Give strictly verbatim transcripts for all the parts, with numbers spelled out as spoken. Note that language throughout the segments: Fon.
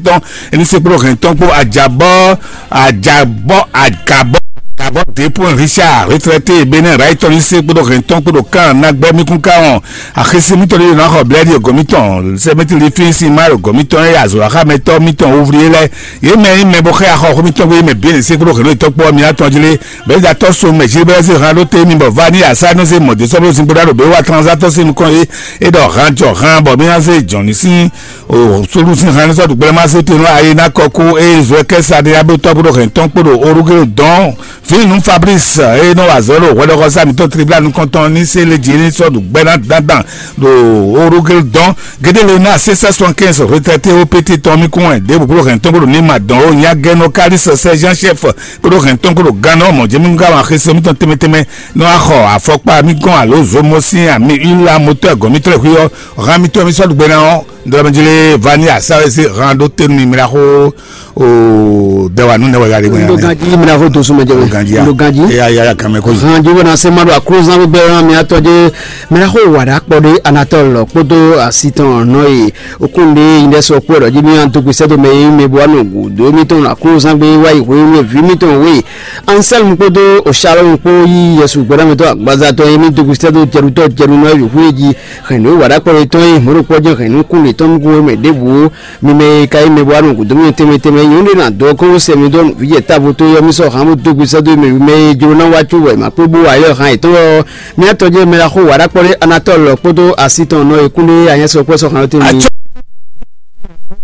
tɔn, é ní se kpódó hɛn tɔn kpó ajabɔ ajabɔ agabɔ agabɔ dépôt Richard retraité Bénin Raitɔ ní se kpódó hɛn tɔn kpódó kan nagbɛ mi kún káwọn axési mitɔn ní yonɔ xɔ blɛ́ɖi gɔ̌ mitɔn sɛmɛtiri fín sin má ɖo gɔ̌ mitɔn é azɔ̌ axámɛtɔ́ mitɔn ouvrier lɛ́ɛ yě mɛ nyí mɛ bó xɛ axɔ xó mitɔn gbé yé mɛ bǐ é ní se kpódó hɛn tɔn kpó ɔ́ mi atɔn jí lé bɛ̌datɔ́ so mɛ jí bɛ́ zé han ɖó té mi bɔ va ní asá nɔ zé mɔ̌ dé sɔ́ bó zin bó ɖá ɖo bě wá tranzatɔ́ sín nukɔn é é ɖɔ han jɔ han bɔ mí ná zé jɔ̌ ní sín o solu sín han ní sɔ́ ɖu gbɛ́lɛ́ má zé te nú ayi ná kɔ kú eye zɔ kɛ́ sa ɖé abó tɔ́ bó ɖo hɛn tɔn kpó ɖo orúkɛ dɔn fínú Fabrice eye nɔ wa zɔ ɖo hwɛɖɔxɔsá mǐtɔn tribla nukɔntɔn ní sé lé jí ní sɔ́ ɖu gbɛ́ ná dandan ɖo orúkɛ dɔn gédé lé ná sé sɛ́ sɔn kɛ́nsɔ retraité ó pété tɔn mí kún wɛ ɖěbǔ bó ɖo hɛn tɔn bó ɖo ní ma dɔn ó nyá gɛ́ nɔ kárí sɔ sɛ́ Jean chef bó ɖo hɛn tɔn bó ɖo gán nɔ mɔ jɛmɛ nú gán wa xese mítɔn tɛmɛ tɛmɛ nɔ axɔ afɔkpa mí gɔn alo zomɔ sín ami ila motɔ gɔn mítɔn xwí ɔ́ hán mítɔn mí sɔ́ ɖu gbɛ ná ɔ́. Ndɔlɔmɛjlé Vani Asawɛsé hán ɖó tenu mì mla xó o dɛwa nú nɛwɛ gari gbɛn. Ndo ganji mla xó dosu mɛ jɛ. Ndo ganji ya. Ndo ganji. Eya ya ya kan mɛ ko. Hán jí wɛna se ma ɖo aklúzán gbígbɛ ɔ́ mi atɔ jɛ mla xó wà ɖá kpɔ ɖé Anatɔl kpódó asi tɔn nɔ e okún ɖé yi ɖɛ sɔ kpó ɖɔ jí mi an tó gbèsè dó mɛ yi mɛ bɔ anɔ gǔ dó mi tɔn aklúzán gbé wá yi hwé wé vi mi tɔn wé. Anselme kpódó Shalɔm kpó yí Yesu gbɛɖɔmɛtɔ́ agbaza tɔn e mì dó gúsítɛ́ dó jɛɖutɔ́ jɛɖunɔ e wěxú e jí hɛn nǔ e wa ɖó akpɔ́ yětɔn e mɔ̌ ɖokpɔ́ jɛ́n hɛn nú kún mǐtɔn mɛ ɖěbǔ ó. Mi mɛ e ka nyí mɛ bó wá nɔ gǔdo mì tɛnmɛ tɛnmɛ nyɔ̌nu ɖé ná dó kɔ́n sɛ mi dó vǐ jɛ távo tó yɔ́ mí sɔ́ han bó dó gbe sɛ́ dó mɛ e jló ná wá có wɛ ma kpé bó wa yɔ han yětɔn ɔ́, mì atɔ́ jɛ mɛ ɖaxó wa ɖó akpɔ́ ɖé Anatɔ́l kpódó asi tɔn nɔ e kún ɖé anyɛ́sɔ́ kpɔ́ sɔ́ han ɔ́ tɛnmɛ.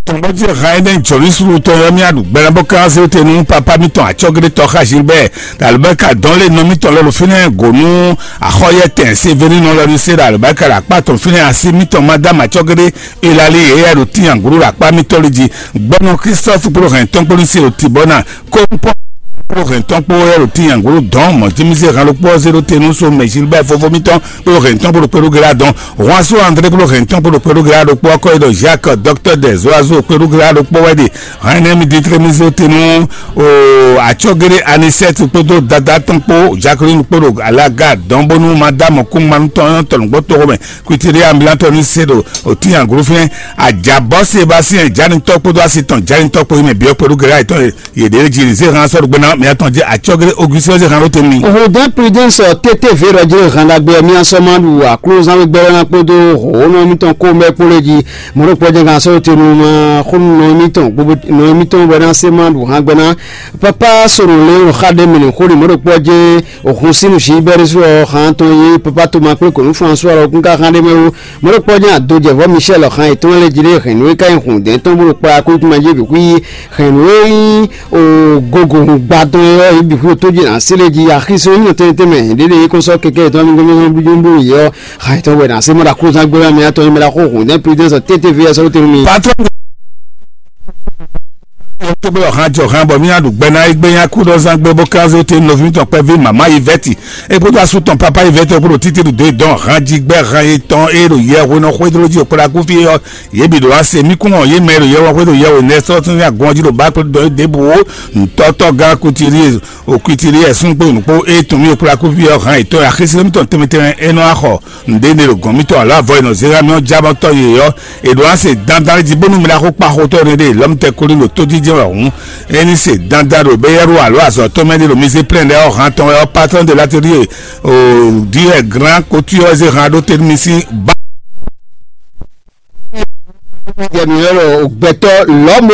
Tɔn bɔ jɛ ha ene jɔli sulu tɔn yɔ mía ɖu gbɛlɛ bɔ kan se te nu papa mi tɔn atsɔgede tɔ xa Gilbert alubɛka dɔn le nɔ mi tɔn lɛ lo finɛ gonu axɔ yɛ tɛn seveni nɔ lɛ mi se ɖo alubɛka ɖo akpa tɔn finɛ asi mi tɔn madame atsɔgede elali yɛ yɛ ɖo tiyan guru ɖo akpa mi tɔn li ji gbɔnɔ Christophe kpolo hɛn tɔn kpolo se o ti bɔ na kɔmpɔ kpolo hɛn tɔn kpolo yɛ ɖo tiyan guru dɔn mɔ jimize hɛn ɖo kpɔ zero te nu so mɛ Gilbert fofo mi tɔn kpolo hɛn tɔn kpolo kpolo gela dɔn Juan so André kpódó hɛn tɔn kpódó kpéɖó gla ɖokpó ɔkɔ yi ɖɔ Jacques docteur des oiseaux kpéɖó gla ɖokpó wɛ ɖe hɛn nɛ mi ditre mi zo te nú o atsɔgere Anisette kpódó dada tɔn kpó Jacqueline kpódó alaga dɔn bónú madame kún manu tɔn tɔn gbɔ tɔgɔ mɛ kuitiri ambulant tɔn ní se ɖo òtín aglo fínɛ ajabɔ Sébastien janitɔ kpódó asitɔn janitɔ kpó yi mɛ biɔ kpéɖó gla yi tɔn yě ɖě jí zé hàn sɔ́ ɖo gbéná mɛ atɔn jẹ́ àcɔ́géré Augustin zé hàn ló tɛ́ mi. Hùdɛ́ Prudence tɛ́tɛ́ vǐ ɖɔ jɛ́n hɛn ɖagbe ɔ́ mì sɔ́ ma ɖu aklúzán gbɛgbɛ́ ná kpódó hǒnɔ mítɔn kó mɛ kpó lé jí. Mɔ̌ ɖokpó jɛ́n hàn sɔ́ te nú ma xó nɔ mítɔn gbogbo nɔ mítɔn bɔ ná sé ma ɖu hàn gbɛ ná. Pápá sɔ̀rọ̀ lé xá ɖé mɛ nǐ xó ɖi mɔ̌ ɖokpó jɛ́n òhun sín nǔ sí bɛ́ ɖésú ɔ́ hàn tɔn yé pápá tó ma kplé kò nú François lɔ kún ká hàn ɖé mɛ wú. Mɔ̌ ɖokpó jɛ́n adojɛvɔ́ Michel xan yětɔn lɛ́ jí ɖé hɛn nǔ e ka nyí hǔn dɛ̌n tɔn bó ɖo kplá kú kúmɛ jí bǐ xwí hɛn nǔ e nyí gogo hun gba tɔn é ɔ́, yě bǐ xwí tó jí nǎ sí lé jí axi sɔ́ nyí tɛnmɛ tɛnmɛ ɖěɖě é kɔn sɔ́ kɛkɛ yětɔn amigɔ́mɛ́sɔn blíjúblú yě ɔ́, xa yětɔn wɛ nǎ sí mɔ ɖo aklúzán gbé mɛ atɔn nyí mɛ ɖo axó hǔn dɛ́n Prudence tɛ́tɛ́ ví ɔ́ sɔ́ tɛn nú mi. Patron tó gbé ọ̀hán jọ hán bọ̀ mí àdùgbẹ́ náà é gbé yín akúdọ̀zán gbé bó ká zé ó tɛn nɔví tɔn kpɛví màmá Yvette é kpódó asú tɔn pápá Yvette é kpódó títí ɖo dó é dɔn hán jí gbẹ́ hán é tɔn é ɖo yɛ hwé nɔ xwé dó jí òkpódó akúfí é ɔ́. Yě bǐ ɖo wá se mí kún wɔn yě mɛ e ɖo yɛ wɔn xwé ɖo yɛ wǒ nɛ́ sɔ́ tún ní agɔn jí ɖo bá kplé dɔ é ɖěbǔ ó. Ntɔ́tɔ́ gán kutiri òkutiri ɛ̀sún kpó nǔkpó é tun mì kplá kúfí ɔ́ hán yětɔn axésí mítɔn tɛnmɛ tɛnmɛ é nɔ wá xɔ ǹɖéne ɖo gɔ̌n mítɔn alo avɔ e nɔ zé xá mì ɔ́ jábɔ́tɔ́ yě ɔ́. È ɖǒ wá se dandan jí bónú mɛ ɖaxó kpaxotɔ́ énɛ́ ɖe lɔmtɛ kóli ɖo tójíjɛ́n wɛ hǔn. É ní se dandan ɖo bɛ́yɛ́ɖó alo azɔ̌tɔ́ mɛ ɖé ɖo mizéplénɖ lɛ́ɛ ɔ́ hán tɔn wɛ ɔ́ patron de l'atelier o diɛ grand couture zé hán ɖó te nú mi sín ba. Jɛ mǐ ylɔ́ ɖɔ gbɛtɔ́ lɔ̌ mo.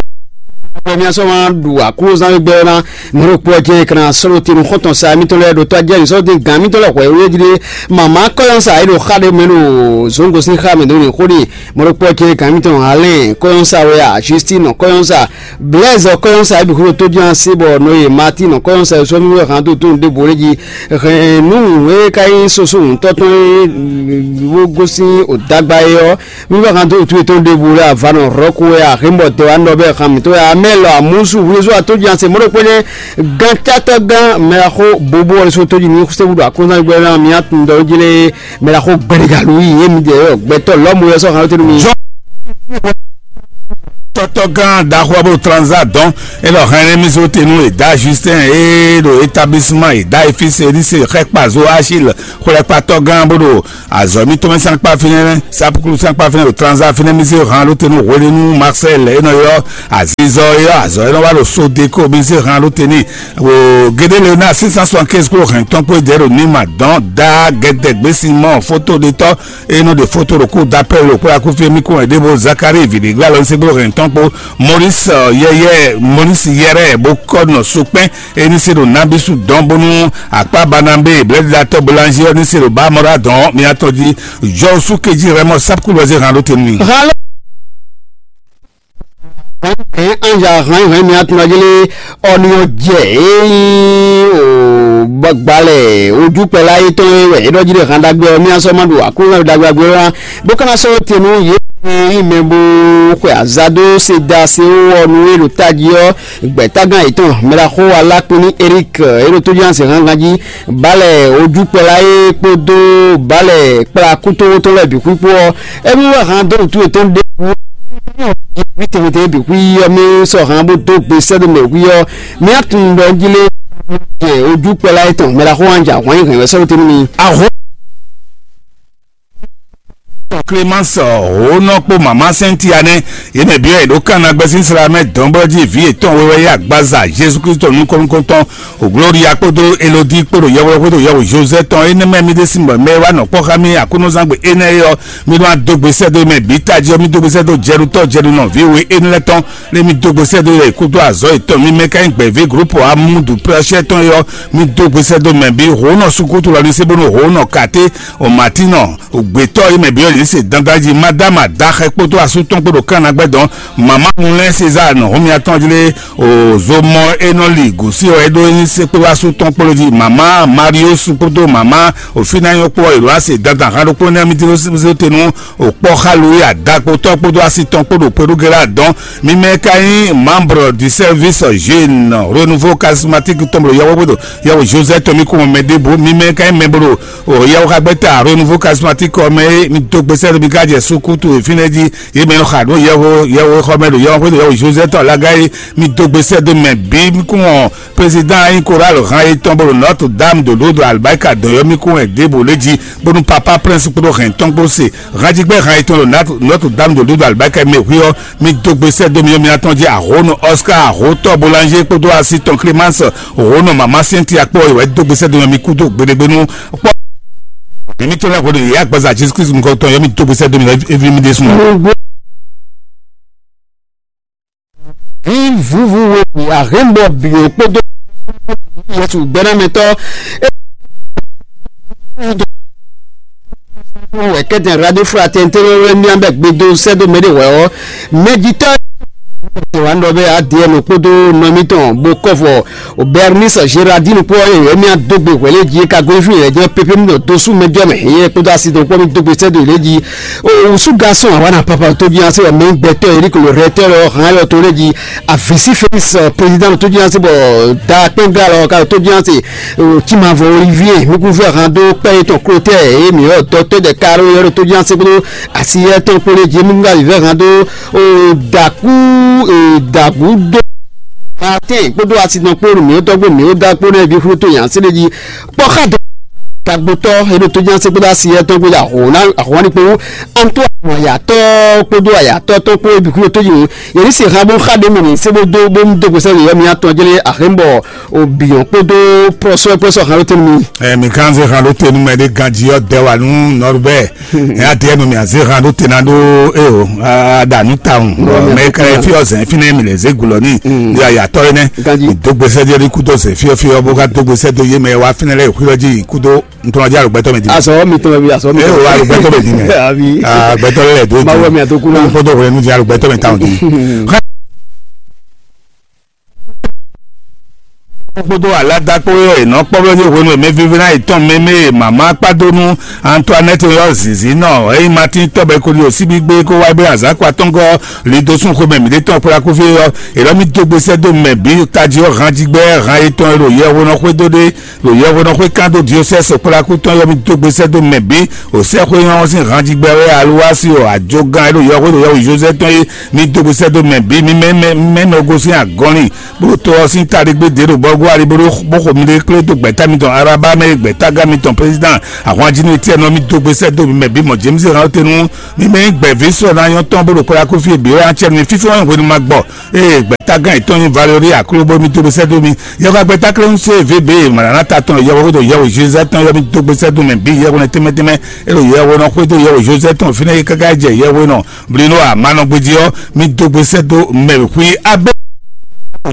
Bɔ mía sɔ́ wá ɖu aklúzán gbɛ ɔ́ ná mɛ ɖo kpɔ jɛ kana sɔ́ ɖo tenu xɔ́ntɔn sa mítɔn lɛ́ɛ ɖo tɔ́ jɛ sɔ́ ɖo gǎn mítɔn lɛ́ɛ hwɛ wé jí ɖé. Mama kɔyɔn sa é ɖo xa ɖé mɛ ɖo zongo sín xa mɛ ɖo nyi xó ɖe. Mɛ ɖo kpɔ jɛ gǎn mítɔn Alain kɔyɔn sa wɛ a Justine kɔyɔn sa Blaise kɔyɔn sa é bǐ xwé ɖo tó jɛ́n así bɔ nɔ ye Martin kɔyɔn sa é sɔ́ mí wɛ hán tó tó ɖěvo ɖé jí. Hɛn nǔ e ka nyí soso ŋutɔ́ tɔn e wó gosín o dagba é ɔ́. Mí bá kan dó wǔtu yětɔn ɖěbǔ lɛ́ɛ avanɔ hlɔ̌ kú wɛ a hěmɔ dɛ wá nɔ bɛ han mǐtɔn wɛ amɛ lɔ amúsu hwlezú atóji ase mɔɖó kpɛnɛ gán catɔ́ gán mɛɖaxó bobo wɛ so tóji ní sɛ́wú ɖo akɔnzán gbɛ ná mí atún dɔ jí lé mɛɖaxó gbɛɖegalu yi yé mi dɛ yɔ gbɛtɔ lɔmɔ yɛ sɔ han tɛnu mi. Tɔgán ɖaxó ɔ́ bó transa dɔn, é ɖɔ hɛn émí zó te nú Eda Justin, é ɖo établissement Eda Efise ní se xɛkpa zó Achille xwlɛkpatɔgán bó ɖo azɔ̌ mítɔn mɛ sín akpá fínɛ́, sapuklu sín akpá fínɛ́ ɖo transa fínɛ́, mí zé hǎn ɖó te nú hwelenu Marcel, é nɔ ylɔ́ azizɔ, é ylɔ́ azɔ̌, é nɔ wá ɖo sodeko, mí zé hǎn ɖó te n'i. Wo gédé Leonard six cent soixante-quinze kúrò hɛn tɔn kpó jɛ ɖo ní ma dɔn dá gɛdɛ gbèsè mɔ foto ɖe tɔ́, e nɔ ɖe foto ɖo kú dapɛ́ ɖo kpó akúfí mí kún wɛ ɖěvo Zakari vǐɖégbé alɔ ní sɛ́gbó hɛn tɔn kpó Maurice, yɛyɛ Maurice yɛrɛ bó kɔ nɔ sokpɛn, e ní se ɖo nabisu dɔn bónú akpá Barnabé blɛ́ɖiɖatɔ́ Boulanger ɔ́ ní se ɖo bá mɔɖá dɔn mía tɔn jí. Jɔ sú kejí rɛmɔ sápkúlɔzé hàn ɖó tenu. Hɛn anza hɛn hɛn mia tun ɔjlé ɔni ɔjɛ eyi o gbalɛ ojú pɛlɛ ayé tɔn e wɛ é ɖɔ jí ɖe hàn ɖagbe ɔ́ mia sɔ ma ɖo akúnlɛ ɖagbe agbe ɔ́ bó kana sɔ te nú yě yi mɛ bó xwe aza dó se da se wó ɔnu e ɖo tají ɔ́ gbɛ̌tagán yětɔn mɛɖaxó alákpín ní Eric e ɖo tójú anse hángan jí balɛ ojú pɛlɛ ayé kpódó balɛ kplá kútówó tɔn lɛ́ɛ bǐ xwíxwó ɔ́. Émí wɛ hán dó wǔtu yětɔn ɖěbǔ. Wí tɛnmɛ tɛnmɛ bǐ xwí ɔ́, mí sɔ́ hán bó dó gbe sɛ́ dó mɛ wí ɔ́, mí á tunwun ɖɔ jí lé jɛ ojú kpɛlá yětɔn mɛ ɖaxó wán jɛ ahwan nyi hɛn wɛ sɛ́ wótɛ́ nú mi. Ahó Clémence Hǒnɔ kpó mama Cynthia nɛ́, yě mɛ byɔ́ yě ɖó kan ná gbɛ́ sín sla mɛ dɔ̌n bɔ jí vǐ yětɔn wewɛ yí agbaza Jezu Kristo nukɔn nukɔntɔn O Gloria kpódó Elodie kpó ɖo yɛhweɖɔ xwé ɖo yɛhwe José tɔn énɛ́ mɛ mì ɖésú bɔ mɛ e wá nɔ kpɔ́ xá mì Aklúnɔzángbé énɛ́ é ɔ́, mì nɔ wá dó gbe sɛ́ dó mɛ bǐ tají ɔ́, mì dó gbe sɛ́ dó Jɛɖutɔ́ Jɛɖunɔ vǐ we énɛ́ lɛ́ɛ tɔn, lé mì dó gbe sɛ́ dó yɛ kúdó azɔ̌ yětɔn. Mì mɛ ka nyí gbɛ̌ví glǔpɔ amúdu plɛ́shɛ́ tɔn é ɔ́, mì dó gbe sɛ́ dó mɛ bǐ. Hǒnɔ sukútu lɔ ní se bónú hǒnɔ katé o Matinɔ, gbětɔ́ e mɛ byɔ́ yě se dandan jí, Madama Daxɛ kpódó asú tɔn kpó ɖo Kannagbɛ́ dɔn, mama Mulɛ César nɔ hɔnmia tɔn jlé o zomɔ e nɔ li gǔsí ɔ́, é ɖó nyi se kpódó asú tɔn kpó jí, mama Marius kpódó mama Ofinayɔ kpó ɔ́, yě ɖo ase dandan han ɖokpó nɛ́ mì tló sésé te nú o kpɔ́ xalu e adakpotɔ́ kpódó asi tɔn kpó ɖo Perugela dɔn. Mi mɛ ka nyí membre du service jeune renouveau charismatique tɔn ɖo yɛwó gbé ɖo yɛwó Joseph tɔn mi kún mɛ ɖěbǔ, mi mɛ ka nyí mɛ bó ɖo o yɛwó xagbɛ́ta renouveau charismatique ɔ́ mɛ é, mi dó gbe sɛ́ ɖo mi ká jɛ sukútu e fínɛ́ jí yě mɛ nɔ xa nǔ yɛwó yɛwó xɔ mɛ ɖo yɛwó xwé ɖo yɛwó Joseph tɔn alaga é, mi dó gbe sɛ́ dó mɛ bǐ mi kún ɔ président ayi chorale han yětɔn bó ɖo Notre Dame de Lourdes Albaïka dɔ̌yɔ́mí kún wɛ ɖěbǔ lé jí bónú papa prince kpódó hɛn tɔn kpó se hanjigbɛ han yětɔn ɖo Notre Dame de Lourdes Albaïka mɛ hwí ɔ́, mi dó gbe sɛ́ dó mi ɔ́ mi atɔn jí ahónɔ Oscar ahótɔ Boulanger kpódó asi tɔn Clémence hǒnɔ mama Cynthia kpó ɔ́ wɛ dó gbe sɛ́ dó mi kú dó gbeɖégbénú kpɔ́. Èmi tó lẹ́kọ̀ọ́ de yìí àgbàzà Jésù Kristu nìkan tán yọmí dó gbe sɛ́ dó mi lọ évi mi ɖésú. Vǐvúvú we ahɛ̌nbɔ bǐ kpódó Yesu gbɛ́nɛmɛtɔ́ wɛ kɛ́tɛn radio fraternité wɛ mía bɛ gbedo sɛ́ dó mɛ ɖé hwɛ̌ ɔ́, mɛjitɔ́ wa nɔ bɛ Adrienne kpódó nɔ mitɔn bó kɔ́ vɔ Bernice Gérardine kpó ɔ́ yɛ mía dó gbe hwɛ̌ lé jí ka gosín yɛ jɛ pépé mi ɖo dosú mɛ jɔ mɛ yɛ kpódó asi dɔn kpó mi dó gbe sɛ́ dó lé jí. O wusu garçon awana papa tó jí ase mɛ gbɛtɔ Eric le recteur lɔ hàn yɔ tó lé jí avisi Félix président tó jí ase bɔ da kpɛnga lɔ ka tó jí ase Timavɔ Olivier mi kún fẹ́ hàn dó pẹ́ yetɔn klotɛ eye mi yɔ dɔtɔ dɛ karo yɔ tó jí ase kpódó asi yɛ tɔn kpó lé jí mi kún fẹ́ hàn dó o daku daku dó Martin kpódó asi dɔn kpó mi yɔ dɔgbó mi yɔ da kpó nɛ bi kúrú tó yàn sí lé jí kpɔ́ xa dó tagbotɔ eɖo tó ján sɛgbɛdá si yɛ tɔn gbéjà hɔn ná ahɔn ní kpó antó ayatɔ kpódó ayatɔ tɔn kpó ebi kúrò tó yìí yẹri se hã bó xa ɖe mɛ ní sɛbó dó bó dó gbèsè yɛ mi atɔn jẹlɛ ahɛnbɔ obìyàn kpódó pɔsɔ pɔsɔ hã ló tẹnu mi. Ɛ mi kan se hã ló tẹnu mɛ ɖe ganji yɔ dɛ wa nú nɔrubɛ ɛ ati ɛnu mi ase hã ló tẹnu aɖó eo aɖanu tawun mɛ kɛrɛ fi ɔzɛ fi ne mi lè ze gulɔ ni yɔ ayatɔ yi nɛ. Ganji. Dó gbèsè jẹ ní kúdó se fiɔ fiɔ bó ká dó gbèsè dó yé mɛ wá fínɛ lɛ ìkúdó jí kúdó ntɔnɔdí alùgbẹ́tọ́ mi di. Azɔ mi tɔn bi azɔ mi. Ee o alùgbẹ́tọ́ mi di mɛ. Abi. Agbẹ́tọ́ lɛ do di. Mawu mi ato kuna. Kpɔtɔ wòle nu di alùgbẹ́tọ́ mi tawun di. kpódó alada kpó e nɔ kpɔ́ blɔ́ hwenu e mɛ vívínɔ yětɔn mɛmɛ e mama kpádónú Antoinette yɔ zǐnzín nɔ eye Martin tɔbɛ koli o síbí gbé kó wá bɛ azǎkpa tɔn gɔ́ lido sún xwemɛ mǐɖétɔn kplá kúfí ɔ́, è nɔ mì dó gbe sɛ́ dó mɛ bǐ tají ɔ́ hanjigbɛ han yětɔn e ɖo yɛhwenɔ xwedó ɖé ɖo yɛhwenɔ xwé kán dó diosɛ́si kplá kú tɔn yɔ mì dó gbe sɛ́ dó mɛ bǐ o sɛ́xwé nyɔ́ ɔ́ sín hanjigbɛ wɛ aluwasi o ajogán e ɖo yɛhwé ɖo yɛhwe Josɛ́ tɔn é, mì dó gbe sɛ́ dó mɛ bǐ mì mɛ mɛ mɛ nɔ gosín agɔ́nlin bó to ɔ́ sín taɖégbé ɖě ɖo bɔ́gɔ́ ali bó xo miɖée kplé dó gbɛ̌ta mitɔn Araba mɛ e gbɛ̌tagán mitɔn président ahwanjínú etí ɛnɔ mì dó gbe sɛ́ dó mɛ bǐ mɔ James Hawtenu mì mɛ nyí gbɛ̌ví sɔ ná nyɔ́ tɔn bó ɖo kpɔ́ yá kó fí e bǐ wɛ acɛ mi fífí wɛn hwenu ma gbɔ eye gbɛ̌tagán yětɔn nyí Valérie Aklo bó mì dó gbe sɛ́ dó mì yɛhwɛ gbɛ́táklɛ́nú sé V B mɔ̌lánata tɔn yɛhwɛ xwédo yɛhwe Jésus tɔn yɔ mì dó gbe sɛ́ dó mɛ bǐ yɛhwɛ nɛ tɛnmɛ tɛnmɛ e ɖo yɛhwɛ nɔ xwédo yɛhwe Joseph tɔn fínɛ́ é káká jɛ yɛhwe nɔ Blino a ma nɔ gbéjí ɔ́, mì dó gbe sɛ́ dó mɛ xwí abé.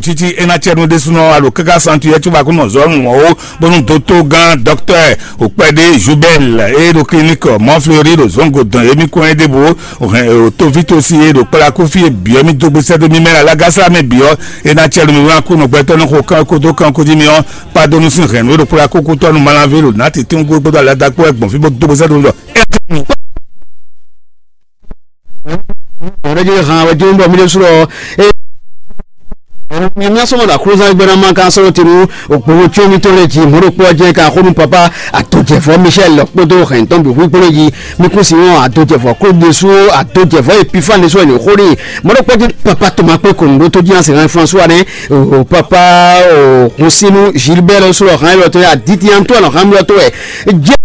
Títí é ná cɛ nú ɖésúnɔ alo káká santu yɛ cóbá kún nɔ zɔ́ nǔ wɔn ó, bónú dótógán dɔktɔ́ Òkpɛɖé Jubɛl e ɖo klinik Mɔflori ɖo zɔngo dɔn émí kɔn é ɖěbǔ hɛn Tovitosi e ɖo kplá kófí e bǐ ɔ́ mì dó gbe sɛ́ dó mì mɛ alágásá mɛ bǐ ɔ́, é ná cɛ nú mì wlán kú nɔgbɛtɔ́ nɔ xo kán kódó kán kó jí mì ɔ́, kpá dó nú sín hɛ̌nnu e ɖo kplá kókútɔ́ nú Malanví ɖo nǎ tǐtín gbogbo dó aladagbó wɛ gbɔn fí bó dó gbe sɛ́ dó mì ɖɔ Ɔrɛjɛ han wɛ jɛn bɔ mi ɖe srɔ. Ɛ mi mi asɔmɔ da kúrúzán gbɛ́ná ma kan sɔrɔ tenu òkpòwò tí omi tó lè jí mɔɖokpɔ jẹ ká xónú papa àtòjẹfọ Michel kpódó hɛntɔn bí hu kpódó jí mi kú sí wọn àtòjẹfọ kó de sú àtòjẹfọ Epifane sọ ẹni xóni mɔɖokpɔ jẹ papa tòmá pé kòmùdó tó jí àsè hàn François ne o papa o hùn sínú Gilbert sọrọ hàn lọ tó yà dìtì Antoine hàn lọ tó ẹ jẹ.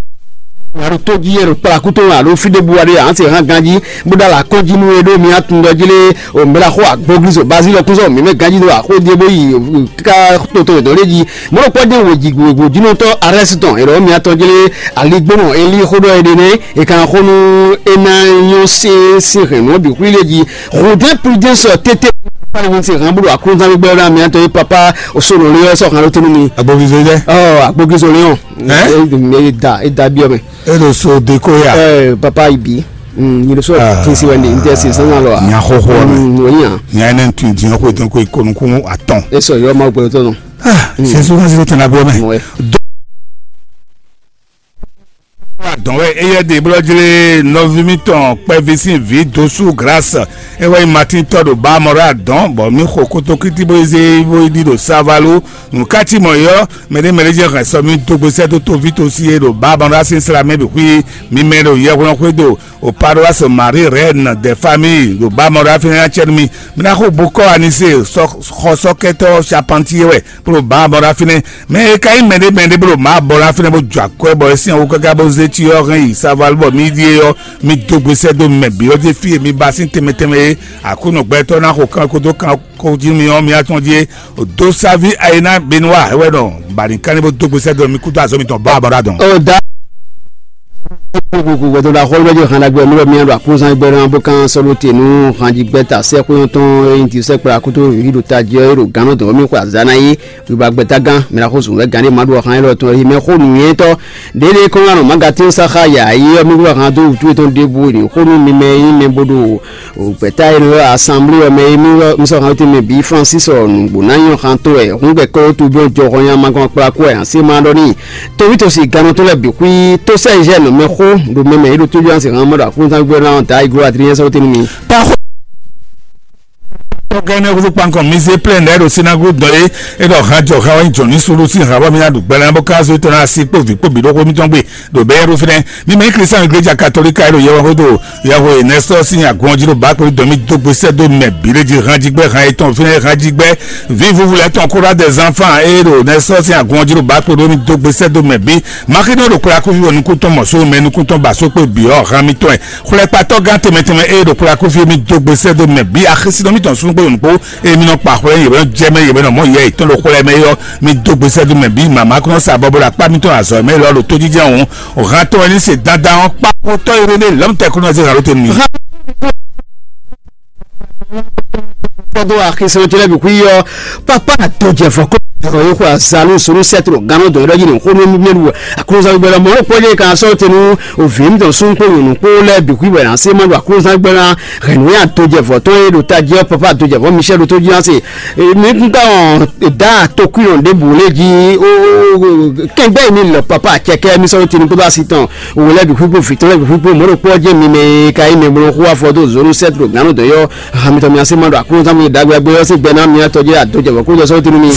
Alo tó jí yɛ ɖo kplakútó alo fí ɖé bu aɖé an se hàn ganjí bó ɖo ala kɔn jí nú e ɖó mi atun ɖɔ jí lé o mɛ la xó agbóglizo bazí lɔ kúzɔ mi mɛ ganjí ɖo axó díe bó yi ká toto ɖɔ lé jí mɔɖo kpɔ dé wò jì wò jínɔtɔ arɛsitɔn e ɖɔ mi atɔn jí lé aligbónɔ eli xó ɖɔ e ɖe nɛ e kan xó nú e ná nyɔ se se hɛn nú bi xwí lé jí rodin prudence tete pali se hàn bó ɖo aklúzán gbígbɛ ɖo mi atɔn yé papa o solo lé ɔ́ sɔ hàn ló tenu mi. Agbóglizo jɛ. Ɔ agbóglizo lé ɔn. Ɛ? E da e da biɔ mɛ. E ɖo so de ko ya. Ɛɛ papa ibi nyiri so ti si wɛ ni n tɛ si sansan lɔ a. Nya xoxo wɛ mɛ. Wòye hàn. Nya ɛnɛ tun diɲɛ ko tun ko ikonu kun atɔn. E sɔ yɔ ma gbɛtɔ nɔ. Sɛ so ka se tɛnɛ bɔ mɛ. Dɔn wɛ eyɛ de blɔjle nɔvi mitɔn kpɛvi sin vi dosu grâce e wɛ nyi Martin tɔ ɖo ba mɔ ɖo adɔn bɔ mi xo kotokiti bo ze bo yi ɖi ɖo savalu nukati mɔ yɔ mɛɖé mɛɖé jɛ hɛn sɔ mi dogbe sɛ dó tovi tosi e ɖo ba mɔ ɖo asi sra mɛ bi xwi mi mɛ ɖo yɛhwlɔn xwé do o paroisse Marie Reine des familles ɖo ba mɔ ɖo afi na cɛ mi mi na xo bokɔ anise xɔsɔkɛtɔ charpentier wɛ kplo bǎ bɔ ɖo fínɛ́. Mɛ e ka nyí mɛɖé mɛɖé bó ɖo mǎ bɔ ɖo fínɛ́ bó jɔ akwɛ́ bɔ é sín awu káká bó zé cyɔ hɛn yi saval bɔ mǐ ɖíe ɔ́, mǐ dó gbe sɛ́ dó mɛ bǐ ɔ́ ɖ'é fí e mi ba sín tɛnmɛ tɛnmɛ é. Aklúnɔ gbɛtɔ́ ná xo kan kódó kan kó jí mi ɔ́, mi atɔn jí é. Dó sáví ayina Benua wɛ nɔ bǎ ní kánní bó dó gbe sɛ́ dó mi kúdó azɔ̌ mitɔn bá bɔ ɖo adɔn. O da. Gbogbo gbɛdɔ la xɔlɔ bɛ jɔ hàn dagbe nubɛ miyan do akluzan gbɛ na bó kan sɔlo te nu hàn jí gbɛ ta sɛ kó yɔn tɔn eyin ti sɛ kpla kótó yi do ta jɛ yi do gánɔ dɔn mi xɔ azana yi wiba gbɛta gán mi na xó zun wɛ gán de ma do hàn yi lɔ tɔn yi mɛ xó nuyɛntɔ ɖeɖe kɔn anɔ magatin saxa ya yi yɔ mi wúlɔ hàn do wutu etɔn ɖebu ni xó nu mi mɛ yi mɛ bo do o gbɛta yi lɔ asanbli wɛ mɛ yi mi wɔ mi sɔ hàn te mɛ bi Francis ɔ nugbo na nyɔ hàn to wɛ hun gbɛ kɔ to bi jɔ hɔn ya ma gɔn kpla kó wɛ hàn se ma dɔ ni Towítɔ́ sín gannɔtɔ́ lɛ́ɛ bǐ xwí tó sɛ́ Ezɛ́ɛ nɔ mɛ xó ɖo mɛ mɛ é ɖo tójú ansi hàn mɔ ɖo aklúnúzán gbígbóná ɔ́ da igló Adrián sɔ́ tɛ́nú mi. Tɔgɛnɛ kutu kpankɔ mi zé plɛn ɖɛ ɖo sinagogu dɔn é é ɖɔ hajɔ ha wɛ jɔ ní sulu sín ha bɔ mi ná ɖu gbɛlɛ bó ká zó tɔn asi kpó vǐ kpó bǐ ɖó xó mitɔn gbe ɖo bɛɛ ɖó fínɛ mi mɛ kristian iglesia katolika é ɖo yɛwɛ xódó yɛwɛ nɛsɔ sín agun ɔjí ɖo bá kpó dɔn mi dó gbe sɛ dó mɛ bǐ ɖé jí han jí gbɛ han etɔn fínɛ han jí gbɛ vi vuvu lɛ tɔn kóra des enfants é ɖo nɛsɔ sín agun ɔjí ɖo bá kpó ɖó mi dó gbe sɛ dó mɛ bǐ Maxi ɖo ɖo kplá kúvi wɛ nukúntɔn mɔ só mɛ nukúntɔn ba só kpé bǐ ɔ́ han mitɔn ɛ xwlɛkpatɔ́ gán tɛnmɛ tɛnmɛ eye ɖo kplá kúvi mi dó gbe sɛ́ dó mɛ bǐ axisínɔ mitɔn súnnu kpó yonukpó eye mi nɔ kpa xwlɛ yě wɛ nɔ jɛ mɛ yě wɛ nɔ mɔ yɛ yětɔn ɖo xwlɛ mɛ ɔ́ mi dó gbe sɛ́ dó mɛ bǐ màmá kún sa bɔbɔ ɖo akpá mitɔn azɔ mɛ lɔ ɖo tójijɛ òun òhan tɔn wɛ ní se dandan ɔ́ kpákpótɔ́ yi ɖé lɔmtɛ kún nɔ zé hàn ló tɛnu mi. Kpɔdó axisínɔ tɛlɛ bǐ kú yɔ pápá àtɔjɛfɔ kó. Dɔrɔ yi xɔ azanu sunu sɛtro gano dɔn yɔrɔ yi ni xo mi mi lu aklunzan gbɛ lɔ mɔ ko ye kan sɔ tenu o vi mi dɔn sun ko yunu ko lɛ bi kui wɛ na se ma lu aklunzan gbɛ na hɛnu ya do jɛ vɔ tɔn ye do ta jɛ papa do jɛ vɔ michel do to ji na se mi kun ka ɔn da to kui ɔn de bu le ji o kɛngbɛ mi lɔ papa cɛkɛ mi sɔ tenu ko ba si tɔn o lɛ bi kui ko vi tɔn lɛ bi kui ko mɔ ko jɛ mi mɛ ka yi mɛ bolo xo afɔ do zonu sɛtro gano dɔn yɔ Ahan mitɔn mia se ma ɖo aklúnɔzán mi ɖagbe agbe ɔ́ sín gbɛ ná mia tɔjí adó jɛ vɔ̌ kúnjɛ sɔ́ tinu mi.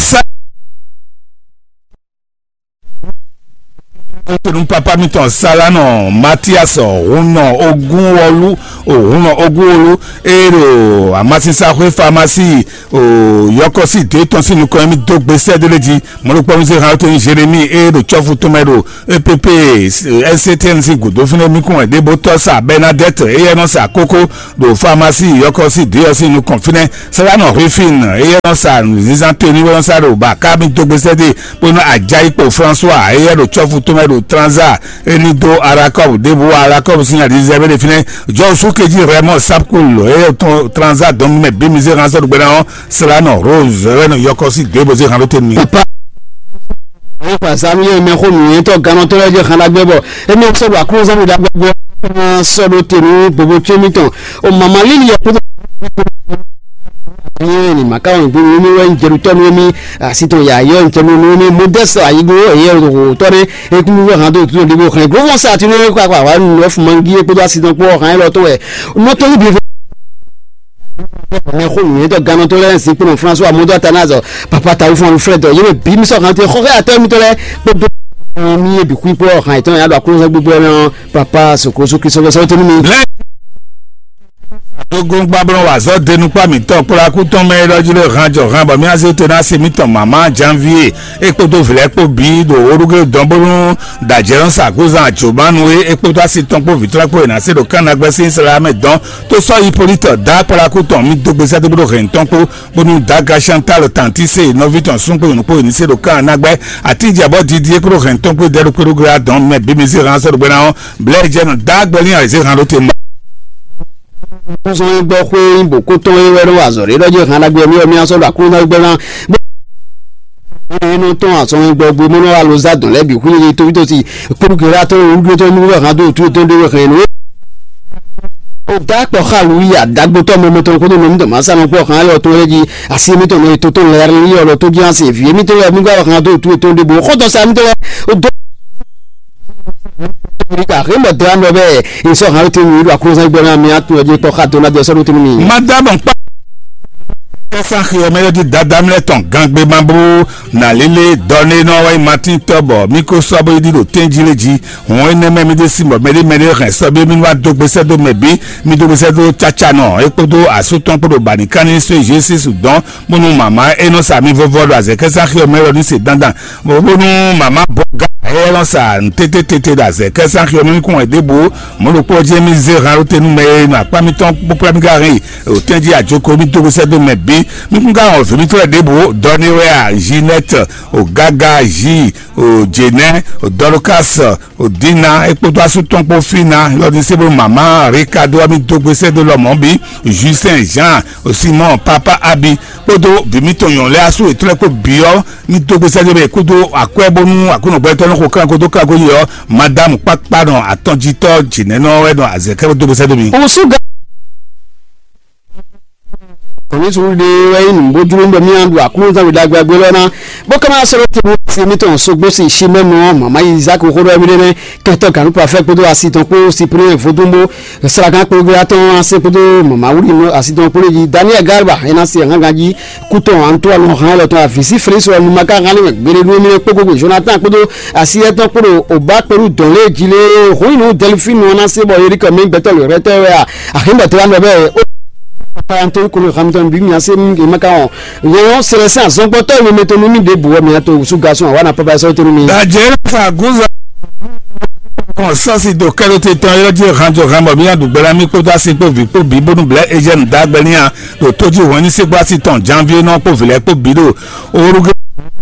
Tonu papa mitɔn Salanɔ Matias Hunɔ Ogunwɔlu Hunɔ Ogunwolu e ɖo amasinsaxwé famasi yɔkɔsi dé tɔn sín nukɔn mi dó gbe sɛ́ délé jí. Mɔ̌ ɖokpɔ́ mi zé han tɔn Jérémi e ɖo cɔ́fu tɔn mɛ ɖo E P P S C T N sín gǔdo fínɛ́ mì kún wɛ ɖěbótɔ́ sa Bernadette éyɛ́ nɔ sa kókó ɖo famasi yɔkɔ́si dé ɔ́ sín nukɔn fínɛ́. Sɛ́lánɔ Rufin éyɛ́ nɔ sa nǔzínzán tenu wɛ nɔ sa ɖo ba ká mì dó gbésɛ dé bónú Ajayi kpo François éyɛ́ ɖo cɔ́fu tɔn mɛ ɖo Tranza é ní dó Arakɔ́bu ɖěbǔ Arakɔ́bu sín alizɛ́ bɛ ɖe fínɛ́. Jɔwusu kejí Raymond Sapkul éyɛ́ ɖo Tranza dɔn mɛ bí mi zé hán sɔ́ ɖo gbɛ́ná ɔ́. Sɛ́lánɔ Rose éyɛ́ nɔ yɔkɔ́si dé bó zé hán ɖó tenu mì. Papa. Ayi xɔ azanu yɛ mɛ xo nǔnywɛ́tɔ́ gannɔtɔ́ lɛ́ɛ jɛ xan ɖagbe bɔ émí sɔ́ ɖo aklúnɔzán mi ɖagbe bɔ sɔ́ ɖo te nú gbogbo tɔn mitɔn o mama líli yɛ kpódó yɛ ni maka wɔn gbogbo mi wɛ jɛɖutɔ́ nú émí asi tɔn ya yɔ ntɛnu nú émí modeste ayigo eyɛ tɔ́ ɖe ekúnú wɛ hàn tó tó ɖibo xlɛ gbogbo sa ti nú émí kó akpa wa nù ɔfuma ngi kpódó asi tɔn kpó hàn yɛ lɔ tó wɛ nɔtɔ́ yí bi mɛ xo nǔnywɛ́tɔ́ gannɔtɔ́ lɛ́ɛ sín kplɔ́n François Modou Athanase papa tawu fún alufrɛdɔ yé mɛ bí mi sɔ́ hàn tɛ xɔxɛ atɔ́ mitɔ́ lɛ́ɛ kpódó mi yé bǐ xwí kpó hàn yětɔn yà ɖo aklúnɔzán gbígbó ɛnɛ ɔ́ papa sokroso kristu fɛ sɔ́ tɛnu mi. Adogun gbablɔ wa zɔ denukpa mitɔn kpla kútɔn mɛ ɖɔ jí lé hàn jɔ hàn bɔ mi azé te na se mitɔn mama janvier e kpódó vlɛ kpó bí ɖo orúgé dɔn bónú dajɛ ɔ́ sa gozan jomanu e e kpódó asi tɔn kpó vǐtrɔ́ kpó e na se ɖo kánnagbɛ́ sín Israɛl mɛ dɔn tó sɔ́ Hipolite dá kpla kútɔn mi dó gbèsè dó bódó hɛn tɔn kpó bónú daga Chantal tantí se nɔví tɔn súngbó nyɔ̌nu kpó nyɔ̌nu se ɖo kán ná gbɛ́ àtijɛ bɔ didi é kúrò hɛn tɔn kpó dɛɖú kpéɖú glá dɔn mɛ bí mi zé hán sɔ́ ɖo gbéná ɔ́ blɛ́ jɛ nɔ dá gbɛlín ayǐzé hán ɖó te ma. Kúsɔn gbɔ xwé bò kó tɔn é wɛ ɖó azɔ̌ ɖé ɖɔ jẹ́ hán ɖagbe mi ɔ́ mi asɔ́ ɖo aklúnɔ gbɛ́ná. Bónú é nɔ tɔn azɔn gbɔ gbé mɔnɔ alo zá dɔn lɛ́ bǐ xwé yeye tóbítɔ́ si kpéɖú glá tɔn wúdú tɔn nú wɛ hán dó tú tɔn ɖé wɛ hɛn nú. O da kpɔ xalu yi adagbotɔ mɔmɔtɔ kó tó nɔ mi tɔn ma sa nɔ kpɔ xan lɔ tó yɛ ji asi mi tɔn nɔ to tɔn lɛ ri yɔ lɔ tó jí asi vi mi tɔn lɛ mi gba xan tó tu tɔn de bo xɔ tɔn sa mi tɔn lɛ o do mi ka he mɛ dra nɔ bɛ isɔ xan tó mi do akɔnsa gbɛ na mi atu ɛ ji kpɔ xa do na jɛ sɔ do tunu mi. Madame kpa kɛsa xiyɔ mɛ yɔ di dada mi lɛ tɔn gangbe ma bó na lele dɔne nɔ wɛ matin tɔ bɔ mi ko sɔ bo yi di do tɛn ji le ji. Hɔn énɛ́ mɛ mi ɖe sin bɔ mɛɖé mɛɖé hɛn sɔ́ bí mi wá dó gbésɛ dó mɛ bǐ, mi dó gbésɛ dó cáca nɔ é kpódó asú tɔn kpódó banikanni só Jésus dɔn bónú mama é nɔ sa mi vɔvɔ ɖo azɛkɛsa xyɔ mɛ lɔ ní se dandan bónú mama bɔ ga é nɔ sa tététété ɖo azɛkɛsa xyɔ mɛ kún wɛ ɖěbǔ mɔ̌ ɖokpó ɔ́ jẹ́ mi zé han ɖó te nú mɛ e nɔ akpá mitɔn kpókplá mi ka hɛn yi òtɛn jí àjoko mi dó gbésɛ dó mɛ bǐ mi kún ka hɔn vǐ mitɔn lɛ́ɛ ɖěbǔ dɔni wɛ a Ginette o gaga ji o Jenɛ o Dorcas o Dina é kpódó asú tɔn kpó Fina lɔdiséblo mama Ricardo ami dó gbésɛ dó lɔmɔ̌ bí Justin Jean o Simon papa Abi kpódó vǐ mitɔn nyɔ̌nu lɛ́ɛ asú yětɔn lɛ́ɛ kpó bǐ ɔ́ mi dó gbésɛ dó bɛ kpódó akwɛ́ bónú aklúnɔgbɛ́tɔ́ nɔ xo kanko dó kanko yi ɔ́ madame kpákpá nɔ atɔ́jítɔ́ Jenɛ nɔ wɛ nɔ azɛ̌kɛ́ bó dó gbésɛ dó mi. Osuga Kɔmísunu ɖe wɛ nyí nǔgbójúmí bɔ mía ɖu aklúnɔzán wěɖagbe agbe lɔ ná bó ká má sɔ́ ɖó te nú asi mitɔn sógbó si Simɛ́nu ɔ́ mama Izáki xó ɖɔ mí ɖé nɛ́ kɛntɔ́ gǎnúkpafɛ́ kpódó asi tɔn kpó Siplíɛn vodúnbó sragán kplɔ́gbéla tɔn ɔ́ ná se kpódó mama wúɖi nú asi tɔn kpó ɖé jí Daniɛl Galba é ná se hángan jí kú tɔn Antoine hán élɔ́ tɔn avǐ sí Felísi wɛ nu ma ka hán ní mɛ gbeɖé nú émí kpókpó Jonathan kpódó asi étɔn kpódó Oba kpéɖu dɔn lé jí lé hɔn nyi nú Delphine ɔ́ ná se bɔ Erika mɛ gbɛtɔ́ lǒ rɛtɛ́ wɛ a Aximba te wá nɔ bɛ o papa ntɔ kolo hamtɔn bi mi ase mi ma ka wɔn yɛn sɛlɛ sɛn azɔngbɔtɔ yi mɛ to nu mi de bu wɔ mi ato wusu gasun awa na papa sɔ to nu mi. Dajɛ fa gunza kɔn sɔsi do kɛlɛ te tɔn yɔ jɛ hanjɔ hanbɔ mi adu gbɛla mi kpódó asi kpó vi kpó bi bónú blɛ ejɛnu dagbɛ ni a ɖo tójú hɔn ní sɛgbó asi tɔn janvier nɔ kpó vilɛ kpó bi ɖo oruge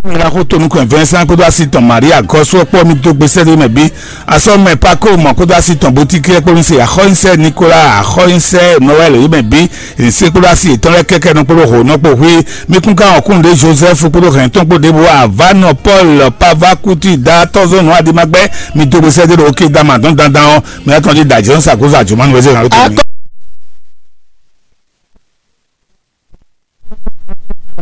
Mìlaxó tonukun Vincent kpódó asi tɔn Maria Gɔsu kpó mi dó gbèsè ɖé mɛ bí. Asɔmɛ Paco mɔ kpódó asi tɔn Boutique kpó mi se axɔ́nyisɛ Nicolas axɔ́nyisɛ Noël yé mɛ bí. Ese kpódó asi yětɔn lɛ́ɛ kɛkɛ nɔ kpódó hǒnɔ kpó hui. Mi kún ká wɔn kún ɖé Joseph kpódó hɛn tɔn kpó ɖěbǔ Avanɔ Paul Pava Kuti da tɔ́zɔ́nù Adimagbɛ. Mi dó gbèsè ɖé ɖo Oké Dama dɔn dandan ɔ́. Mi atɔn ɖi dajɛ ɔ́ sa kó sa jùmɔ́ nu wɛ zé hàn ló tó mi.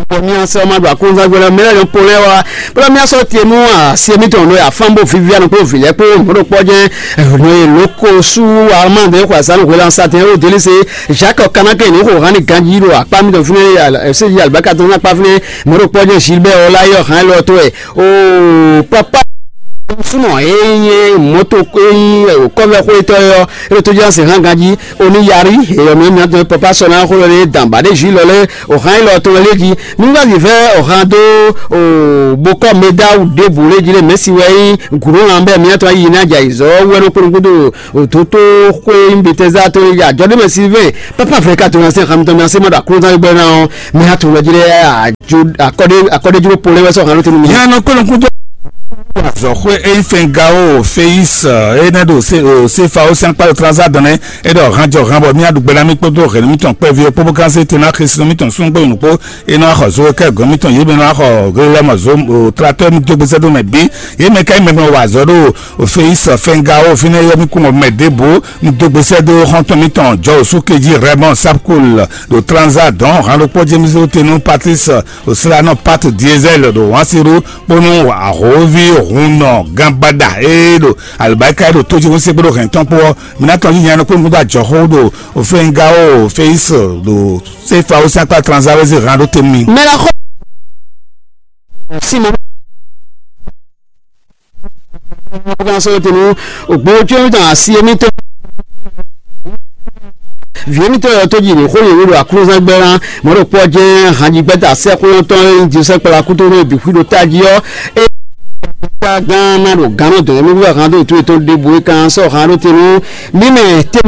Bɔ mía sɛ ma ɖo aklúnzán gbé lɛ mɛ lɛ pɔlɛ wa. Bla mía sɔ tie nú asi mi tɔn nɔ ya fan bo vivi anɔ kpó vilɛ kpó mɔɖo kpɔ jɛ nɔ ye loko su wa ma de xɔ azan hwe lan sa tɛ o deli se Jacques Kanake ni xɔ hani ganji ɖo akpa mi tɔn fine ya se yi alibaka tɔn akpa fine mɔɖo kpɔ jɛ Gilbert Olayɔ hàn lɔ to ɛ o papa sunɔ e nye mɔto e nye kɔvɛ xɔ etɔ yɔ e to jɛ se hàn ganji Oni yari eyɔ mɛ mɛ tɔn papa sɔ na xó lɛ dan ba ɖe ju lɔ lɛ o han ilɔ tɔn lɛ ji nungbavi vɛ o han do o bokɔ medawu ɖebu lɛ ji lɛ mɛsi wɛ yi guro lan bɛ mɛ tɔn yi na ja izɔ wɛ no kpɔnɔ kudo o toto xwe mbetɛza tɔn lɛ ja jɔ ɖe mɛ si vɛ papa vɛ ka tɔn na se han tɔn na se ma ɖo akɔnɔta gbɛ na ɔ mɛ ha tɔn lɛ ji lɛ a jo akɔɖe akɔɖe juro polɛ wɛ sɔ han lɔ tɔn mi. Yan nɔ kpɔnɔ kudo. Azɔxwe eyi fɛn gawo feyis ene ɖo sefawo sɛn kpalo transa dɔn nɛ. Eɖɔ hanjɔ han bɔ mía ɖu gbɛɖa mì kpódó hɛn mítɔn kpɛvi ɔ́ kpóbó kán sé tena xesinɔ mítɔn súngbó nukpó. Enɔ axɔ zo kɛ gɔn mítɔn yě mɛ nɔ axɔ glelɛmɔ zo tratɔ mi dó gbèsè ɖó mɛ bí. Yě mɛ ka nyí mɛ mɛ wa azɔ ɖó feyis fɛn gawo fínɛ yɔ mí kún mɛ ɖěbǔ. Mi dó gbèsè ɖó xɔntɔn mítɔn jɔ òsú kejí rɛmɔ sapkul ɖo transa dɔn han ɖokpó jémísó tenu patris Osla nɔ Pat Diesel ɖo Wansiru kpónú ahǒvi hunnɔ ganbaɖa e ɖo alibáríka e ɖo tójíhún sɛ́gbé ɖo hɛn tɔn kpó ɔ́, mi ná tɔn yíyan nɔ kpónú kúdó ajɔxó ɖo Ofɛngawo Feyis ɖo Sefawo sín akpá Tranzawɛzi hɛn ɖó te nú mi. Mɛ ná xɔ Simɔn. Kan sɔ́ tenu ògbó cyɔ́nwí tɔn asi émítɔn. Vǐ émítɔn yɔ tó dzi ní xó yě wú ɖo aklúzán gbɛ́ ná mɔ̌ ɖo kpɔ́ jɛ́n hanjigbɛ́ta sɛ́xwéyɔ́tɔn e nyí Josɛ́ kpalakuto nú e bǐ xwí ɖo tají ɔ́. É gán ná ɖo gǎn nɔ dɔ̌n émí wú hɛn dó ètò ètò ɖěbǔ é kan sɔ́ han ɖó te nú mí mɛ tɛ́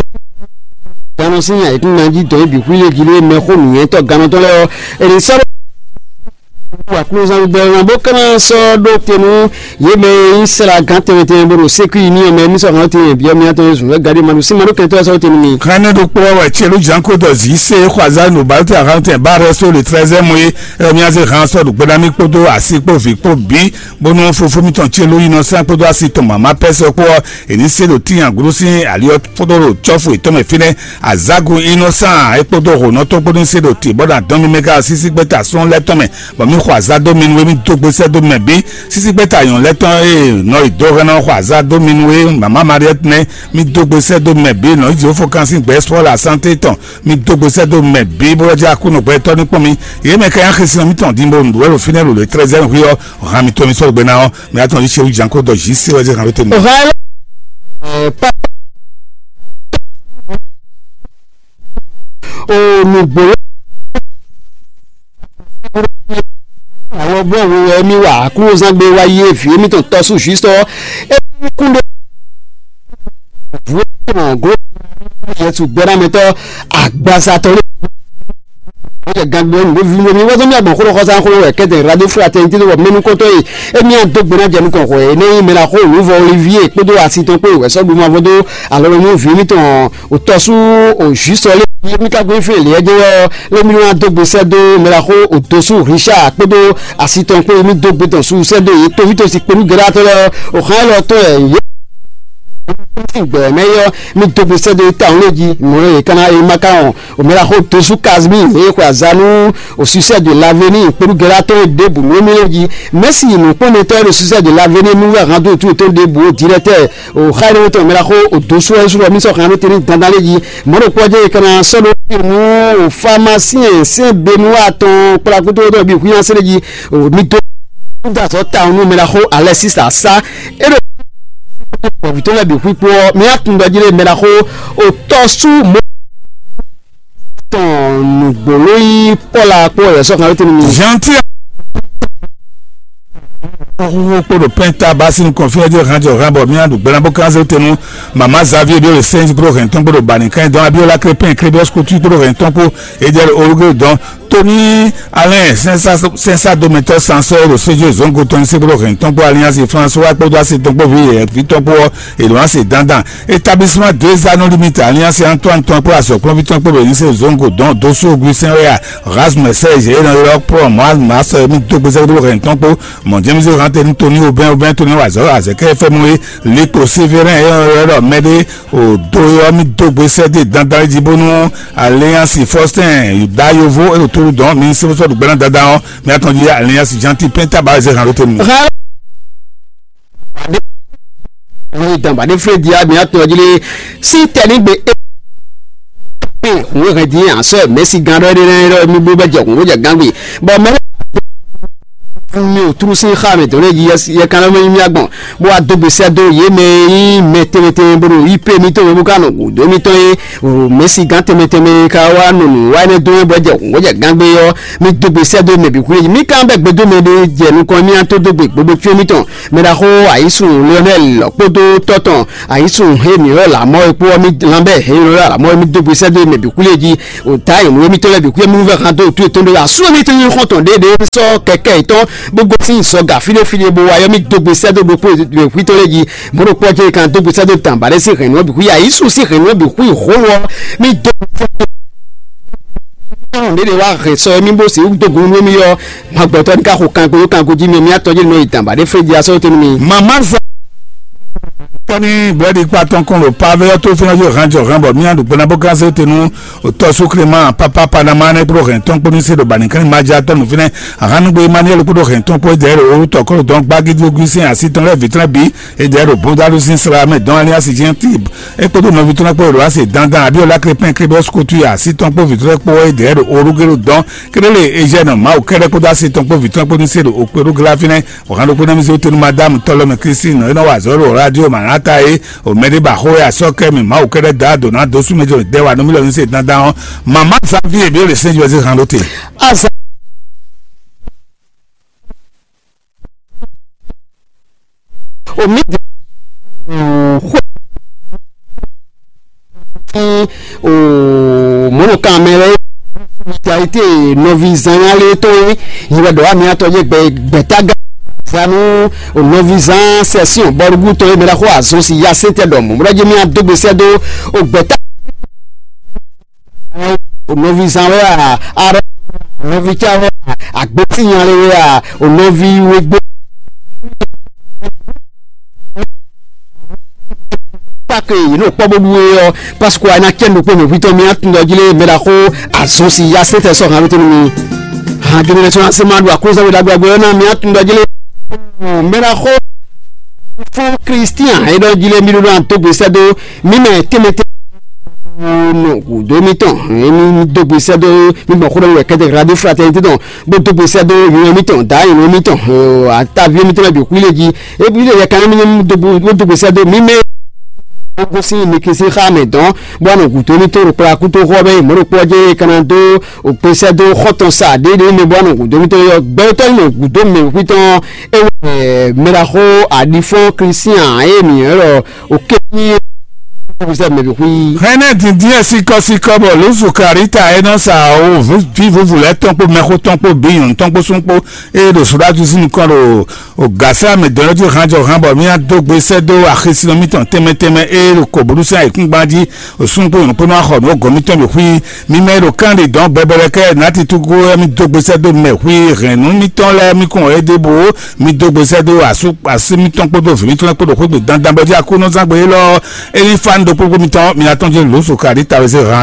gannɔ sín ayǐkúngban jí dɔ̌n é bǐ xwí lé jí lé mɛxó nǔnywɛ́tɔ́ gannɔtɔ́ lɛ́ɛ ɔ́. È nǐ sɔ́ ɖó aklúzán gbɛ́ ná bó ka ná sɔ́ ɖó te nú yě mɛ e nyí sɛ́la gán tɛnmɛ tɛnmɛ bó ɖo sékúyi ní ɔmɛ mí sɔ́ hɔn tɛnmɛ byɔ́ mí atɔn e zun wɛ gaɖé ma ɖo sín ma ɖó kɛntɔ́ sɔ́ tɛnmɛ mi. Hɛn ne ɖokpó wɛ celu janko dɔ zi se xɔ azá no ba te ahan tɛ ba rɛ so le trɛzɛ mo ye ɛ mí azé han sɔ ɖo gbɛɖá mí kpódó asi kpó vi kpó bí bónú fofó mítɔn celu yi nɔ sán kpódó asi tɔn mama pɛsɛ kpó ɔ èní se ɖo tíyan gúdú sín ali ɔ kpódó ɖo cɔ́fu ètɔn mɛ fínɛ́ azágun innocent é kpódó hǒnɔtɔ́ kpódó se ɖo tǐ bɔ ɖo adɔn mímí ká sísí gbɛ́ta sɔ́n lɛ́ tɔn mɛ bɔ mí xɔ azá dó mi nú é mí dó gbe sɛ́ dó mɛ bí sísí gbɛ́ta nyɔ̌nu lɛ́ tɔn e nɔ yi dó hɛn ná xɔ azá dó mi nú é mama Mariette nɛ́ mí dó gbe sɛ́ dó mɛ bí nɔ yi Jehova kan sín gbɛ sɔ́ la santé tɔn mí dó gbe sɛ́ dó mɛ bí bó jẹ́ akúnɔ gbɛtɔ́ ní kpɔ́n mi yě mɛ ká yá xesinɔ mítɔn dín bó nǔ wɛ ɖo fínɛ́ ɖo le trɛ́zɛ́n hwí ɔ́ hàn mí tɔn mi sɔ́ gbe ná ɔ́ mɛ atɔn yí se wú janko dɔ jǐ se wɛ zé hàn ló tɛnumɛ. Hàn ɛ pa o nùgbò àwọn gbọ́n wo ẹ̀mí wà kúrò zán gbé wáyé èfì èmi tó tọ́ sùn jù sọ ẹ̀mí kúndé vú ẹ̀mí gó yẹtù gbẹ́dámẹ́tọ́ àgbàsá tọ́lé. Ó jẹ gangbe ɔ́ nǔɖó vínúɖó mi wɛ́ tó mì agbɔ̌n xó xɔsá xó wɛ kɛ́tɛ radio fraternité tó bɔ mɛnú kɔ́tɔ́ e émí adó gbe ná jɛ nukɔn xɔ ɛ nɛ́ nyí mɛ ná xó nǔvɔ Olivier kpódó asi tɔn kpó ìwɛsɔ́ ɖu mavɔ dó alɔ lɔ nú vǐ mítɔn òtɔ́sú òjúsɔ lé mí ká gbé fún èlé ɛjẹ́ wɛ ɔ́ lé mí wá dó gbe sɛ́ dó mɛ ná xó òdosú Richard kpódó asi tɔn kpó mí dó gbe tɔn sú sɛ́ dó yě tófítɔ́sí kpódú gɛ́dátɔ́ lɛ́ɛ ɔ́ òxán élɔ́ tɔn ɛ yě gbɛ mɛ yɔ mí dó gbe sɛ́ dó ta òun lé jí mɔ̌ yě ká ná é má ká wɔn Omela xo tosu Casimir eye xwe azanu au succès de l'avenir kpolu gɛlɛ atɔn ɖěbǔ nú émí lɛ́ɛ jí. Mɛsi nǔkpɔ́nmɛtɔ́ e ɖo succès de l'avenir nú wɛ hando tu tó ɖěbǔ ó directeur o xayinɔtɔ omela xo o dosu ɛ sɔrɔ mi sɔ hàn ló tɛni dandan lé jí. Mɔɖo kpɔjɛ yi kana sɔɖo nú o pharmacien sɛn benu atɔn kplakuto ɖɔ bi huyan sɛlɛ jí. O mi do dasɔ ta nú omela xo alɛ sisa sa e ɖo bɔbitɔ lɛ bi hu kpó ɔ mi atun dɔ jí lé mɛ na xo o tɔ sú mo tɔn nùgbòló yí pɔla kpó ɛ sɔ kan tɛnu mi. Gentil. Xúxú kpó ɖo pɛnta basi nukɔn fí ɛjɛ hàn jɔ hàn bɔ mía ɖu gbɛna bó kánzé tenu mama Xavier bí o le sɛnji kpó ɖo hɛn tɔn kpó ɖo bani kan dɔn Abiola Crépin Crébios Couture kpó ɖo hɛn tɔn kpó edjɛ Olugbe dɔn Tony Alɛn sɛnsadomɛtɔ́ sansɔ́ ɖo séjú zɔngo tɔn ní sɛ́dó hɛn tɔn kpó aliansi François kpódó asi tɔn kpó vi yɛ̌vi tɔn kpó ɔ́, èlò asi dandan. Établissement deux anneaux limite aliansi Antoine tɔn kpó azɔ̌kplɔ́nví tɔn kpó bɛ ní se zɔngo dɔn dó só Augustin wɛ a, Rasmus Serge e nɔ ylɔ́ kplɔ́n Moaz Masɔ e mì dó gbèsè ɖó hɛn tɔn kpó mɔ James Joe Hante ní Tony Aubin Aubin Tony wazɔ azɛkɛ fɛmɔ e Likpo Sévérin e nɔ ylɔ́ mɛ ɖé o do ɔ́ mì dó gbèsè dé dandan jí bónú Alliance Faustin Yuda Yovo e ɖo tóru dɔn mi sɛbɛsɔ ɖo gbɛ́nà dandan ɔ́ mi atɔn jí Alliance Janti Penta ba zɛ hàn lóte mi. Ní ìdàgbà ní Fred yá mi atɔn jí lé sí tẹ̀lé gbé é. Òun hɛn dín àṣọ mẹ́sì gan rẹ rẹ rẹ mi bó bẹ jẹ òun jẹ gan gbé bọ mẹ mi ò túrú sí xá mi tó lé yí yẹ kan lọ mẹ yí mi agbọn bó wá dó gbèsè dó yé mɛ yí mɛ tẹmɛtẹmɛ bó ɖo yí pé mi tó mɛ bó ká nɔ gòdó mi tɔn yé o mɛsì gán tɛnmɛ tɛnmɛ ka wá nɔ nǔ wá ɛnɛ dó wɛ bɔ jɛ wɔ jɛ gángbé ɔ́ mi dó gbe sɛ́ dó mɛ bǐ xwlé mi kan bɛ gbedó mɛ ɖé jɛ nukɔn mi an tó dó gbe gbogbo tsyɔ́ mitɔn mɛ ɖaxó ayísun Lionel kpódó tɔ́ tɔn ayísun he mǐ ɔ́ lǎmɔ e kpó ɔ́ mi lanbɛ he mǐ ɔ́ lǎmɔ e mi dó gbe sɛ́ dó mɛ bǐ xwlé jí o ta yi nǔ mitɔn lɛ bǐ xwlé mi nú vɛ han dó tu yětɔn ɖó asú mi tɔn nyí xɔ́ntɔn ɖéɖé sɔ́ kɛkɛ yětɔn bó gosín sɔ gǎ fíɖéfíɖé bó wá yɔ mi dó gbe sɛ́ dó ɖokpó mɛ xwítɔn lé jí Mɔ̌ ɖokpó ɔ́ jɛ kan dó gbèsè dó dǎn ba ɖé sín hɛ̌nnu ɔ́ bǐ xwí ayǐsu sín hɛ̌nnu ɔ́ bǐ xwí hó ɔ́ mì dó. Ɔn ɖě ɖě wá hɛn sɔ mì bó sixú dó gun nú mì ɔ́, ma gbɛtɔ́ ní ká xo kanko yó kanko jí mì mì atɔ́ jí nɔ yi dǎn ba ɖé fé jí asɔ́ tɛ́ nú mì. Mama za tɔni bɛdi kpa tɔn kɔn ɖo pave ɔ́ tó fínɛ́ yó hɛn jɔ hɛn bɔ mì aɖu gbɛná bó gán zé te nú tɔ́sú Clément papa Panama nɛ́ kpó hɛn tɔn kpó ní se ɖo bani kɛn ma ja tɔn nú fínɛ́ ahan nugbo Emmanuel kpó hɛn tɔn kpó dɛ́ ɖo orú tɔkɔ́ ɖo dɔn gbági dó gún sɛn así tɔn lɛ́ɛ vǐ tɔn lɛ́ɛ bǐ. Edɛɛ ɖo Bondalu sín sla mɛ dɔn Aliasi Jɛntib. É kpódó nɔví tɔn lɛ́ɛ kpó ɖo asi dandan Abiola Krepin Krebe Skutu ya así tɔn kpó vǐ tɔn lɛ́ɛ kpó edɛɛ ɖo Olugelo dɔn. Kélélé Ejɛnɔ Mawu kɛ́ɖɛ́ kpódó asi tɔn kpó vǐ tɔn lɛ́ɛ kpó ní se ɖo Okpéɖó Glafínɛ́. Wǎn ɖokpó ná mì zé wóte nú Madámu Tɔlɔmɛ Klísin nɔ e nɔ wa azɔ̌ ɖo rádio Manata é. O mɛɖé ba xó e asɔ́ kɛ mì Mawu kɛ́ɖɛ́ dɔ́ ado ná dó sú mɛ jɔ dɛ́ wa nú mì lɔ ní se dandan ɔ́. Mama Xavier Ebéle Sɛ́njɔzé han ɖó te. Azan. Omi di xwe ki o mɔnɔkan mɛ lɛ ita ite nɔvi zanya lɛ to yi yi wɛ dɔ wa mi atɔ ye gbɛ gbɛtaga zanu o nɔvi zan sɛsion bɔlugu to yi mɛ la xo azɔn si ya se tɛ dɔ mɔ mɔ dɔ je mi adogbe sɛ do o gbɛta. O nɔví zán wɛ a, arɔ nɔví cá wɛ a, agbésínyalé wɛ a, o nɔví wégbé. Pake yìí n'o kpɔ bó ɖu é ɔ́, paseke a ná cɛ nukpó mɛ hwítɔ́ mi atúndɔ jí lé mɛ ɖaxó azɔn si ya sɛtɛ sɔ hàn lóte nú mi. Hàn jomɛ sɔ ase ma ɖu akúnzɛ wɛ ɖagbe ɔ́ ná mi atúndɔ jí lé mɛ ɖaxó fún Kristian é ɖɔ jí lé mi ɖó ná tó gbèsè dó mi mɛ tɛmɛtɛ nɔ gǔdo mitɔn mi dó gbèsè dó mi gbɔn xó ɖɔ wɛ kɛtɛ ɣla dé fraternité tɔn bó dó gbèsè dó yɔn mitɔn dǎ yɔn mitɔn ataví mitɔn lɛ bǐ xwí lé jí ebi lè yɛ kan mi dó gbèsè dó mi mɛ. Ó gosín mi kisi xá mɛ dɔn bó anɔ gǔdo mitɔn ɖo kplá kútó xɔ bɛ mɔ̌ ɖokpó ɔ́ jẹ́ kana dó òkpesɛ dó xɔtɔn sa ɖéɖé mɛ bó anɔ gǔdo mitɔn yɔ gbɛtɔ́ nɔ gǔdo mɛ xwítɔn ewɔ mɛɖaxó aɖifɔn Kristian eye mǐ ylɔ́ ɖɔ òkè ní òkpesɛ mɛ bǐ xwí. Hɛnɛ dindin ɛ sikɔsikɔ bɔ lózu karita e nɔ sa awo vǐvúvú lɛ́ tɔn kpó mɛxó tɔn kpó bǐ nyɔ̌nu tɔn kpó sún kpó eye ɖo sodatu sín nukɔn ɖo ògǎsá mɛ dɔ̌ jí hanjɔ han bɔ mía dó gbe sɛ́ dó axisínɔ mítɔn tɛnmɛ tɛnmɛ eye ɖo kɔ̌búɖusí ayǐkúngban jí Osun kpó nyɔ̌nu kpó nɔ xɔ nǔ gɔ̌ mitɔn bǐ xwí. Mi mɛ e ɖo kán ɖi dɔ̌n gbɛbɛlɛ kɛ nati tugu wɛ mi dó gbesɛ dó mɛ xwí hɛ̌nnu mitɔn lɛ́ɛ mi kɔn ɛ ɖěbǔ. Mi dó gbesɛ dó asú así mitɔn kpódó vǐ mitɔn lɛ́ɛ kpó ɖo xwé gbe dandan bɔ jí Aklúnɔzán gbe élɔ́ é ní fá nǔ ɖokpó mitɔn mi atɔn jí lǒ so kaɖí tawe zé han.